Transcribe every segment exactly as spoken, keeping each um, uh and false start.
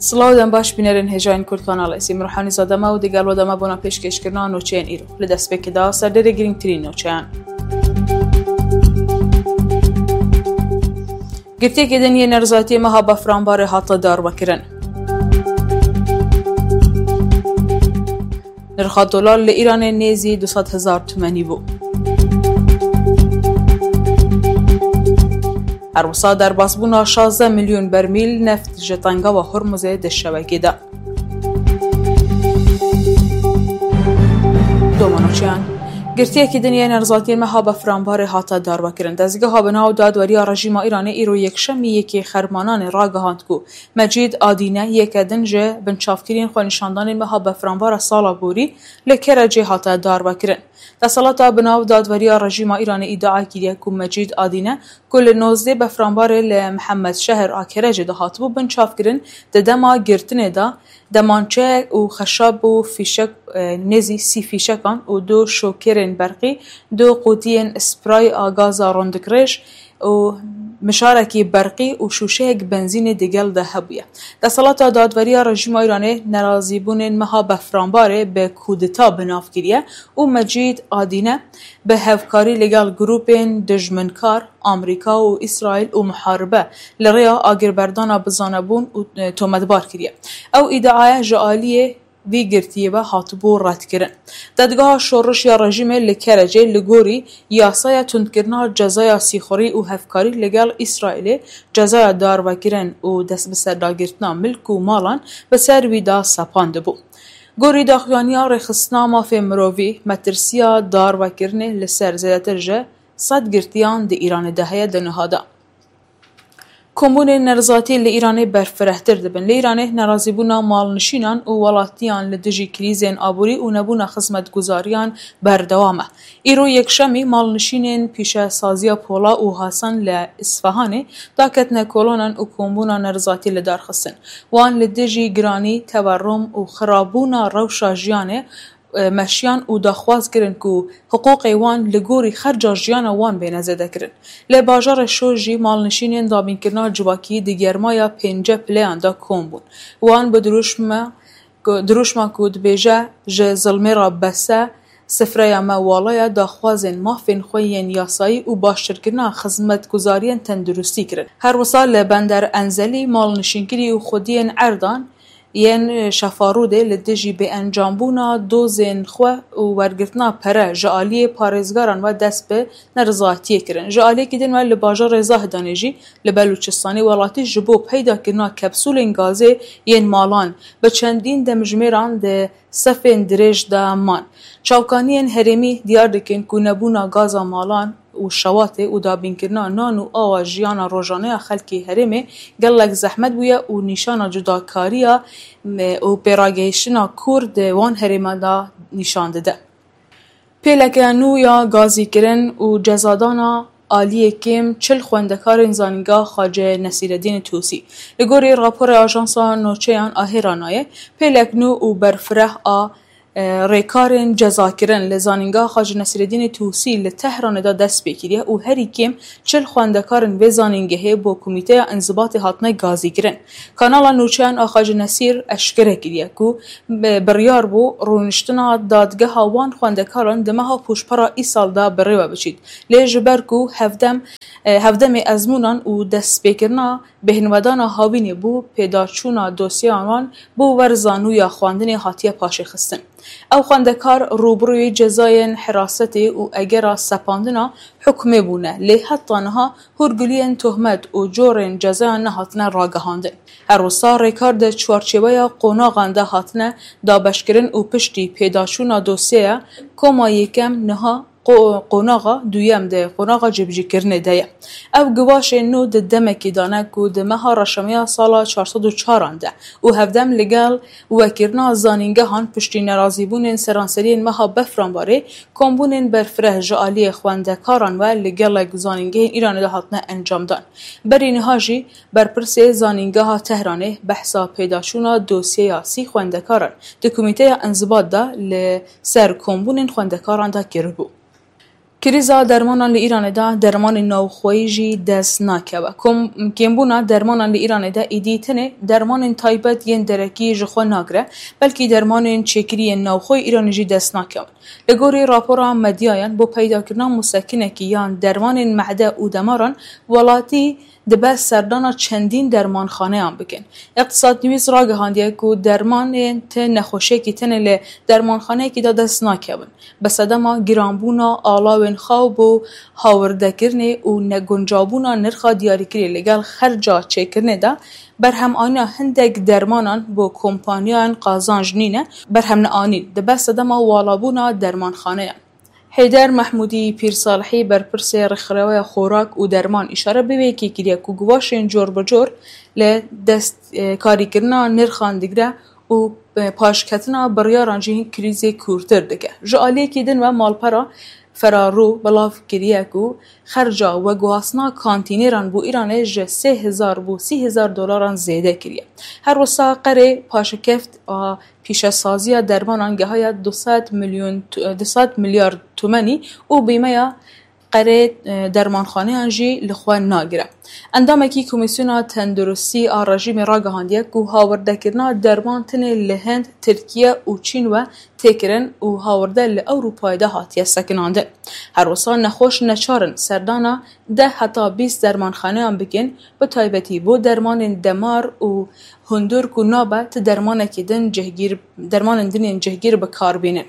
Silav dem baş bînerên hêjayên Kurd Kanal Esî, min Ruhanî Zadema û digel we dema bona pêşkêşkirina nûçeyên îro. Li destpêkê de serdêrê girîngtirîn nûçeyan. Girtiyekî din yê nerizaytiyê meha Befranbarê hate darvekirin. Nirxa dolar li Îranê nêzî du sed hezar tumenî bû. Her wisa derbasbûna şazdeh milyon bermîl neft ji tengava Hormuzê di şewekê de. Domanoçiyan. Girtiyekî din yê nerizatiyên meha Befranbarê hate darvekirin. Dezgeha bi nav dadweriya rejîma Îranê îro yekşemî yekê Xermananê ragihand ku Mecîd Adîne yeke din ji binçavkiriyên xwenîşandanên meha Befranbara sala borî li Kerecê hate darvekirin. Desthilata bi nav dadweriya rejîma Îranê îdia kiriye ku Mecîd Adîne ku li nozdeh Befranbarê li Mihemed Şehr a Kerecê de hatibû binçavkirin, di dema girtinê de demançeyek û xeşab û fîşek, e, nêzî sî fîşekan û du şokerên berqî, du qutiyên spray a gaza rondikrêj û mişarekî berqî û şûşeyek benzînê digel de hebûye. Desthilata dadweriya rejîma Îranê nerazîbûnên meha Befranbarê bi kûdeta bi nav kiriye û Mecîd Adîne bi hevkarî li gel grûpên dijminkar, Amerîka û Îsraîl û muharibe li rêya agirberdana bizanebûn û, e, tometbar kiriye. Ew îdiaya ji aliyê vî girtiyê ve hatibû redkirin. Dadgeha Şoreş ya Rejîmê li Kerecê li gorî yasaya tundkirina cezaya sîxurî û hevkarî li gel Îsraîlê cezaya darvekirin û destbiserdagirtina milk û malan bi ser wî de sepandibû. Gorî daxuyaniya Rêxistina Mafê Mirovî, metirsiya darvekirinê li ser zêdetir ji sed girtiyan di Îranê de heye di niha de. Kombûnên nerizatî li Îranê berfirehtir dibin. Li Îranê nerazîbûna malnişînan û welatiyan li dijî krîzên aborî û nebûna xizmetguzariyan berdewam e. Îro yekşemî malnişînên pîşesaziya Pola û Hasan li Îsfahanê daketine kolonan û kombûna nerizatî li dar xistin. Wan li dijî giranî, tewerrum û xirabûna rewşa jiyanê e, meşiyan û daxwaz kirin ku hiqûqê wan li gorî xerca jiyana wan bêne zêdekirin. Li bajarê Şor jî malnişînên dabînkirina civakî di germaya pênce pileyan de kom bûn. Wan bi dirûşme ku, dirûşma ku dibêje, "Ji zilmê re bes e, sifreya me wala ye", daxwazên mafên xwe yên yasayî û baştirkirina xizmetguzariyên tenduristî kirin. Her wisa li Bender Enzelî malnişînkirî û xwediyên erdan yên Şefarûdê li dijî bêencambûna dozên xwe û wergirtina pere ji aliyê parêzgaran ve dest bi nerizatiyê kirin. Ji aliyekî din ve li bajarê Zahdanê jî li Belûçistanê welatî ji bo peydakirina kapsûlên gazê yên malan bi çendîn demjimêran di sefên dirêj de man. Çavkaniyên herêmî diyar dikin ku nebûna gaza malan û şewatê û dabînkirina nan û awa jiyana rojane ya xelkê herêmê gelek zehmet bûye û nîşana cudakariya, e, û pêragehiştina kûr di wan herêman de nîşan dide. Pêleke nû ya gazîkirin û cezadana aliyê kêm çil xwendekarên Zanîngeha Xace Nesîreddînê Tusî. Li gorî raporê Ajansa Noçeyan a Hêranaye, pêlek nû û berfireh a e, rêkarên cezakirin li Zanîngeha Xace Nesîreddînê Tusî li Tehranê de dest pê kiriye û herî kêm çil xwendekarên vê zanîngehê bo Komîteya Înzibatê hatine gazîkirin. Kanala Nûçeyan a Xace Nesîr eşkere kiriye ku bi-, biryar bû rûniştina dadgeha wan xwendekaran di meha pûşpera îsal de bi rê ve biçît. Lê ji ber ku hevdem, e, hevdemê ezmûnan û destpêkirina bêhnvedana hawînê bû, pêdaçûna dosyeyan wan bo wer zanûya xwendinê hatiye paşê xistin. Ew xwendekar rûbirûyê cezayên hirasetê û egera sepandina hukmê bûne, lê heta niha hûrguliyên tohmet û corên cezayan nehatine ragihandin. Her wisa rêkar di çarçêweya qonaxan de hatine dabeşkirin û piştî pêdaçûna dosyeya koma yekem niha qo-, qonaxa duyem de qonaxa cîbicîkirinê de ye. Ev givaşên nû di demekî de ne ku di meha reşemeya sala çar sed û çaran de û hevdem li gel wekirina zanîngehan piştî nerazîbûnên seranseriyên meha Befranbarê kombûnên berfireh ji aliyê xwendekaran ve li gelek zanîngehên Îranê de hatine encamdan. Berî niha jî berpirsê Zanîngeha Tehranê behsa pêdaçûna dosyeya sî xwendekaran di Komîteya Înzibat de li ser kombûnên xwendekaran de kiribû. Krîza dermanan li Îranê de dermanên navxweyî jî dest nakeve. Kom-, kêmbûna dermanan li Îranê de êdî tenê dermanên taybet yên derekî ji xwe nagire, belkî dermanên çêkirî yên navxwe Îranê jî dest nakevin. Li gorî rapora medyayan, bo peydakirina musekinekî yan dermanên mehde û demaran, welatî dibe serdana çendîn dermanxaneyan bikin. Iqtisad News ragihandiye ku dermanên ti nexweşiyekî tenê li dermanxaneyekî de dest nakevin. Bi sedema giranbûna alawên xaw bo hawirdekirinê û neguncabûna nirxa diyarîkirî li gel xerca çêkirinê de, berhemanîna hindek dermanan bo kompaniyayan qazanc nîne, berhem neanîn, dibe sedema walabûna dermanxaneyan. Heyder Mehmûdî Pîrsalihî, berpirsê Rêkxiraweya Xorak û Derman, îşare bi vê yekê kiriye ku guvaşên cor bi cor li dest, e, karîkirina nirxan digire û, e, paşketina biryaran jî krîzê kûrtir dike. Ji aliyekî din ve malpera Ferarû belav kiriye ku xerca veguhastina kantîneran bo Îranê ji sê hezar bo sî hezar dolaran zêde kiriye. Her wisa qerê paşekeft a pîşesaziya dermanan gehaye du sed milyon tu-, du sed milyar tumenî û bîmeya qerê, e, dermanxaneyan jî li xwe nagire. Endamekî Komîsyona Tenduristî a rejîmê ragihandiye ku hawirdekirina derman tenê li Hind, Tirkiye û Çîn ve tê kirin û hawirde li Ewropayê de hatiye sekinandin. Her wisa nexweş neçar in serdana deh heta bîst dermanxaneyan bikin, bi taybetî bo dermanên demar û hundir ku nabe ti dermanekî din cihgîr, dermanên din yên cihgîr bi kar bînin.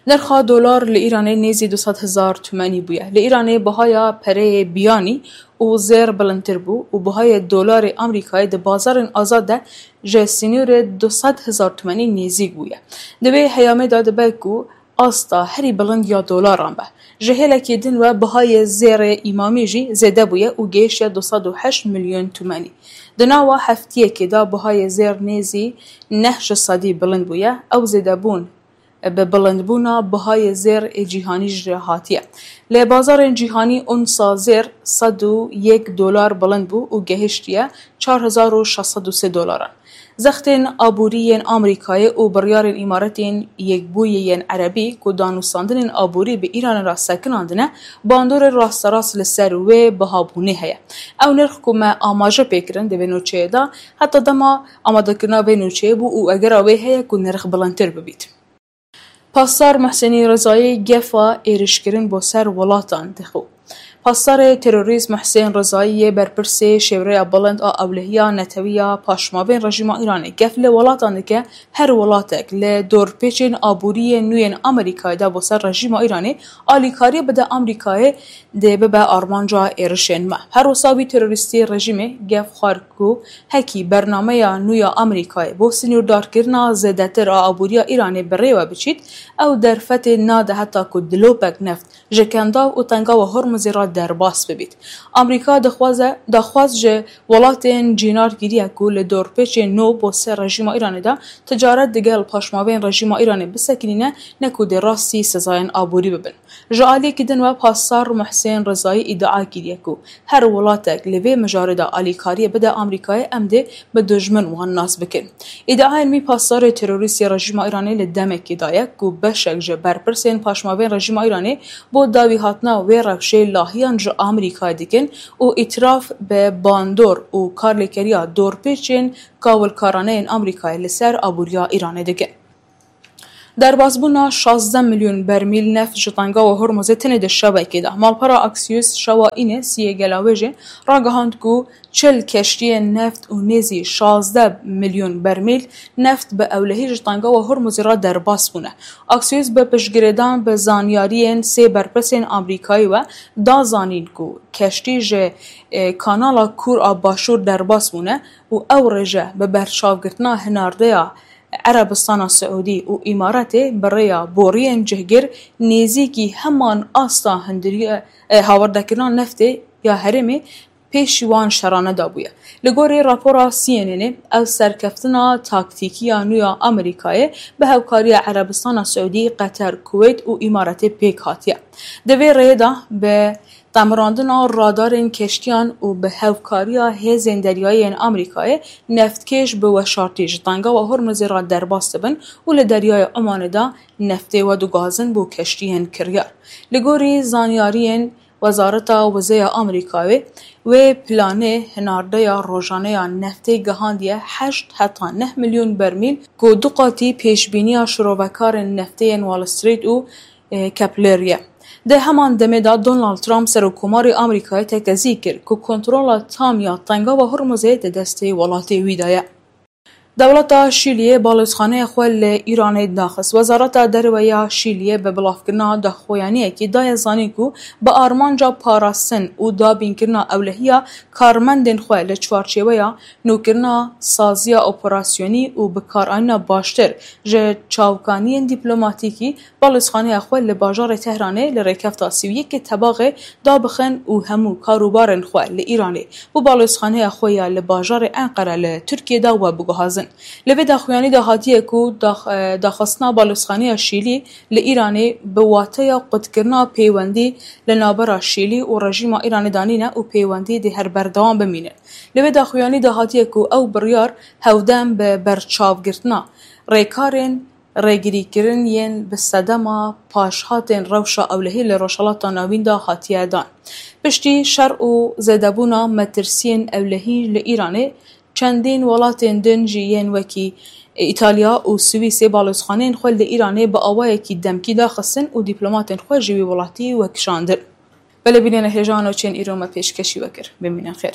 Nirxa dolar li Îranê nêzî du sed hezar tumenî bûye. Li Îranê bihaya pereyê biyanî û zêr bilindtir bû û bihayê dolarê Amerîkayê di bazarên azad de ji sînorê du sed hezar tumenî nêzîk bûye. Di vê heyamê de dibe ku asta herî bilind ya dolaran be. Ji hêlekê din ve bihayê zêrê îmamî jî zêde bûye û gehiştiye du sed û heşt milyon tumenî. Di nava heftiyekê de bihayê zêr nêzî neh ji sedî bilind bûye. Ew zêdebûn bi bilindbûna bihayê zêr ê cîhanî jî re hatiye. Li bazarên cîhanî onsa zêr sed û yek dolar bilind bû û gehiştiye çar hezar û şeş sed û sê dolaran. Zextên aborî yên Amerîkayê û biryarên Îmaretên Yekbûyî yên Erebî ku danûstandinên aborî bi Îranê re sekinandine, bandorê rasterast li ser wê bihabûnê heye. Ew nirx ku me amaje pê kirin di vê nûçeyê de, heta dema amadekirina vê nûçeyê bû û egera wê heye ku nirx bilindtir bibît. Pasdar Muhsînî Rizayî gefa êrişkirin bo ser welatan dixwe. Pasdarê terorîst Muhsên Rizayî yê berpirsê Şêwreya Bilind a Ewlehiya Netewî ya Paşmavên Rejîma Îranê gef li welatan dike, her welatek li dorpêçên aborî yê nû yên Amerîkayê de bo ser rejîma Îranê alîkariyê bide Amerîkayê dê bibe armanca êrişên me. Her wisa wî terorîstê rejîmê gef xwar ku hekî bernameya nû ya Amerîkayê bo sînordarkirina zêdetir a aboriya Îranê bi rê ve biçît, ew derfetê nade heta ku dilopek neft ji Kendav û Tengawa Hormuzê re derbas bibît. Amerîka dixwaze, daxwaz ji welatên cînar kiriye ku li dorpêçên nû bo ser rejîma Îranê de ticaret digel paşmavên rejîma Îranê bisekinîne, ne ku dê rastî sezayên aborî bibin. Ji aliyekî din ve Pasdar Muhsên Rizayî îdia kiriye ku her welatek li vê mijarê de alîkariyê bide Amerîkayê, em dê bi dijmin wan nas bikin. Îdiayên wî pasdarê terorîst yê rejîma Îranê li demekê daye ku beşek ji berpirsên paşmavên rejîma Îranê bo dawî hatina wê rewşê lahiyan ji Amerîkayê dikin û îtiraf bi bandor û karlêkeriya dorpêçên kawilkarane yên Amerîkayê li ser aboriya Îranê dikin. Derbasbûna şazdeh milyon bermîl neft ji Tengawa Hormuzê tenê di şevekê de. Malpera Axios şewa înê siyê Gelawêjê ragihand ku çil keştiyên neft û nêzî şazdeh milyon bermîl neft bi ewlehî ji Tengawa Hormuzê re derbas bûne. Axios bi piştgirêdan bi zanyariyên sê berpirsên Amerîkayî ve da zanîn ku keştî ji, e, Kanala Kûr a Başûr derbas bûne û ew rêje bi berçavgirtina hinardeya Erebistana Siûdî û Îmaratê bi rêya boriyên cihgir nêzîkî heman asta hindiriye, e, hawardekirina neftê ya herêmê pêşî wan şerane dabûye. Li gorî rapora C N N ê, ev serkeftina taktîkî ya nû ya Amerîkayê bi hevkariya Erebistana Siûdî, Qeter, Kuweyt û Îmaratê pêk hatiye. Di vê rêyê de bi Qemirandina radarên keştiyan û bi hevkariya hêzên deryayî yên Amerîkayê neftkêş bi weşartî ji Tengawa Hormuzê re derbas dibin û li Deryaya Omanê de neftê vediguhazin bo keştiyên kiryar. Li gorî zanyariyên Wezareta Wizeya Amerîkayê, wê planê hinardeya rojaneya neftê gihandiye heşt heta neh milyon bermîl, ku du qatî pêşbîniya şirovekarên neftê yên Wall Street û, e, Kepler ye. Di heman demê de Donald Trump, Serokkomarê Amerîkayê, tekezî kir ku kontrola tam ya Tengawa Hormuzê di destê welatê wî de ye. Dewleta Şîliyê balozxaneya xwe li Îranê daxist. Wezareta Derve ya Şîliyê bi bilavkirina daxuyaniyekî daye zanîn ku bi armanca parastin û dabînkirina ewlehiya karmendên xwe li çarçêweya nûkirina saziya operasyonî û bikaranîna baştir ji çavkaniyên dîplomatîkî, balozxaneya xwe li bajarê Tehranê li rêkefta sî û yekê Tebaxê dabixin û hemû karûbarên xwe li Îranê bo balozxaneya xwe ya li bajarê Enqere li Tirkiyê de webiguhazin. Li vê daxuyanî de hatiye ku dax-, e, daxistina balozxaneya Şîlî li Îranê bi wateya qutkirina peywendî li navbera Şîlî û rejîma Îranê de nîne û peywendî dê her berdewam bimîne. Li vê daxuyanî de hatiye ku ew biryar hewdem bi berçavgirtina rêkarên rêgirîkirin yên bi sedema paşhatên rewşa ewlehî li Rojhilata Navîn de hatiye dan. Piştî şer û zêdebûna metirsiyên ewlehî li Îranê, çendîn welatên din jî yên wekî Îtalya û Swîsê balozxaneyên xwe li Îranê bi awayekî demkî daxistin û dîplomatên xwe ji wî welatî wekişandin. Belê bînêne hêja nûçeyên îro me pêşkêşî we kir. Bimînin xêr.